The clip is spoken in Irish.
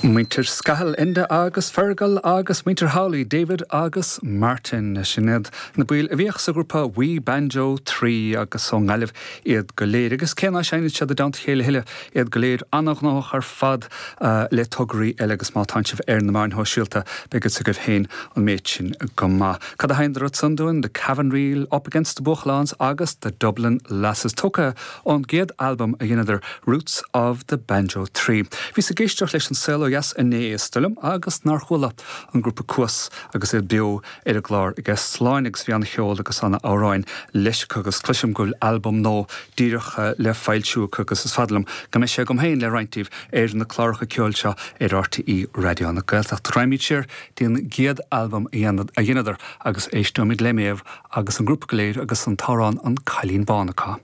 Muintir Scahill, Enda agus Fergal agus muintir Howley, David agus Martin. Sin iad na baill a bhíodh sa ghrúpa We Banjo 3 agus ón nGaillimh iad go léir. Agus cé ná seinneann siad i dteannta a chéile a thuilleadh, iad go léir an-ghnóthach ar fad le tograí eile agus má tánn sibh ar na meáin shóisialta beidh fhios agaibh féin an méid sin go maith. Cad a sheinneadar ansan dúinn? The Cavan Reel, Up Against the Buachalláns agus The Dublin Lasses. Tógtha ón gcéad albam a dheineadar, Roots of the Banjo 3. Bhíos ag éisteacht leis An Saol Ó Dheas inné, is dóigh liom, agus nár chuala an grúpa Cuas agus iad beo ar an gclár aige Sláine agus bhí ana-cheol agus ana-amhráin leis acu agus cloisim go bhfuil albam nua díreach le foilsiú acu agus is fada liom go mbeidh sé agam féin le roinnt díbh ar na cláracha ceoil seo ar RTÉ Raidió na Gaeltachta. Raghaimid siar dtí an gcéad albam a dheineadar agus éisteoimid le Méabh agus an grúpa go léir agus an t-amhrán An Cailín Bán acu.